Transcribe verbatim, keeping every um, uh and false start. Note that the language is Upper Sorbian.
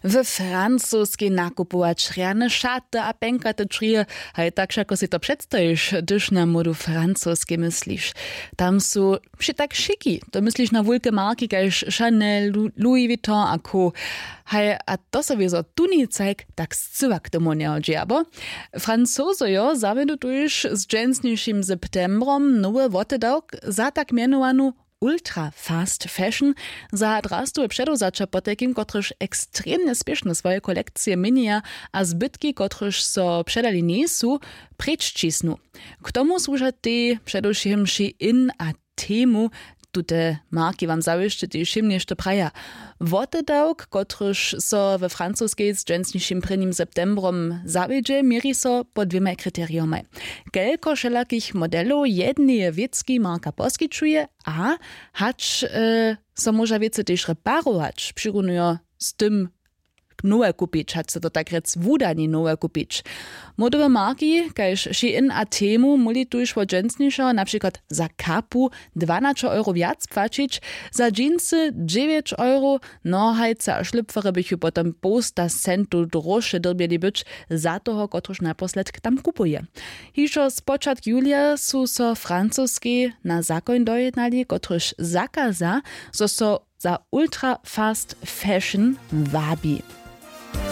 W francoskej nakupować rjane šaty a pjenkaty črije, haj tak wšako sej to předstajiš, hdyž na módu francoskej mysliš. Tam su wšě tak šiki, to mysliš na wulke marki kaž Chanel, Louis Vuitton a co. Haj a to so wězo tuni cajk tak scyła k tomu njehodźi abo? Francozojo zawjedu tuž z dźensnišim septembrom nowy wotedawk za tak mjenowanu ultra fast fashion, za drastowe předewzaća potajkim kotryž ekstremnje spěšno swoje kolekcije měnjeja a zbytki kotryž so předali njejsu, preč ćisnu. K tomu słuža tej předewšěm Shein a Temu. Tute marki wam zawěsće tež wšěm něšto praja. Wotedawk kotryž so we francoskej z dźensnišim prěnim septembrom zawjedźe, měri so po dwěmaj kriteriomaj: kelko wšelakich modelow jedneje wěcki marka poskićuje a hač e, so móža wěcy tež reparować, přirunujo z tym nowe kupić, hač so to tak rjec wudani nowe kupić. Módowe marki kaž Shein a Temu móhli tuž wot dźensnišeho na přikład za kapu dwanaćo euro wjac płaćić, za džincy dźewjeć euro. Nohajce a šlipfery bychu potom połsta centow dróše dyrbjeli być za toho kotryž naposledk tam kupuje. Hižo spočatk julija su so francoskej na zakoń dojednali kotryž zakaza, zo so za ultra fast fashion wabi.